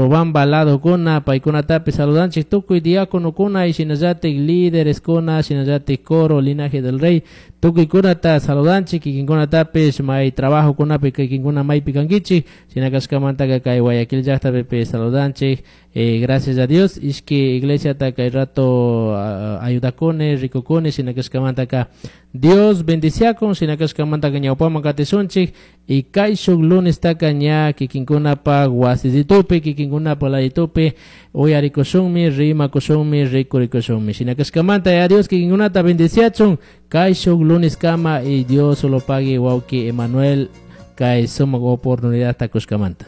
Urubamba ladokuna paykunatapish saludanchik tukuy diaconokuna y shinallatik lídereskuna shinallatik coro linaje del rey tukuykunata saludanchik kikinkunatapish may trabajokunapi kikinkuna maypi kankichik shina kashkamantaka kay Guayaquil llaktapipish saludanchik. Gracias a Dios ishki iglesiata kay rato ayudakuni rikukuni shina kashkamantaka Dios bendiciakun shina kashkamantaka ñawpaman katishunchik y kayshuk lunestaka ña kikinkunapaq wasisitupi kikinkunapaq laditupi uyarikushunmi rimakushunmi rikurikushunmi shina kashkamanta ya Dios kikinkunata bendiciachun kayshuk lunes kama y Dios solo pague wawki Emanuel kay sumak oportunidad kushkamanta.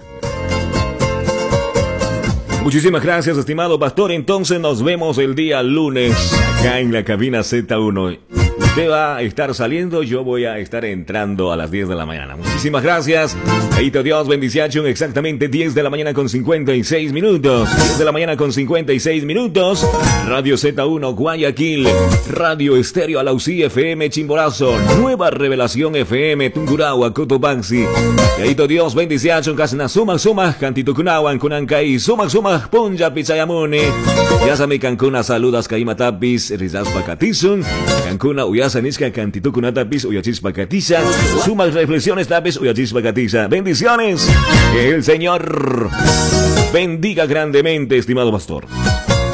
Muchísimas gracias, estimado pastor. Entonces nos vemos el día lunes acá en la cabina Z1. Usted va a estar saliendo, yo voy a estar entrando a las 10 de la mañana. Muchísimas gracias. Ahí Dios, bendición. Exactamente 10 de la mañana con 56 minutos. 10 de la mañana con 56 minutos. Radio Z1 Guayaquil. Radio Estéreo Alausí FM Chimborazo. Nueva Revelación FM Tungurahua Cotopaxi. Ahí Dios, bendición. Kasna suma suma. Cantito kunawan kunankai. Suma suma. Punja pichayamuni. Yasami kankuna saludas kaimatapis. Rizaspa katisun. Kankuna uyasa niska cantitukunatapis uyachispa katisa. Sumas reflexiones tapis uyachispa katisa. Bendiciones. Que el Señor bendiga grandemente, estimado pastor.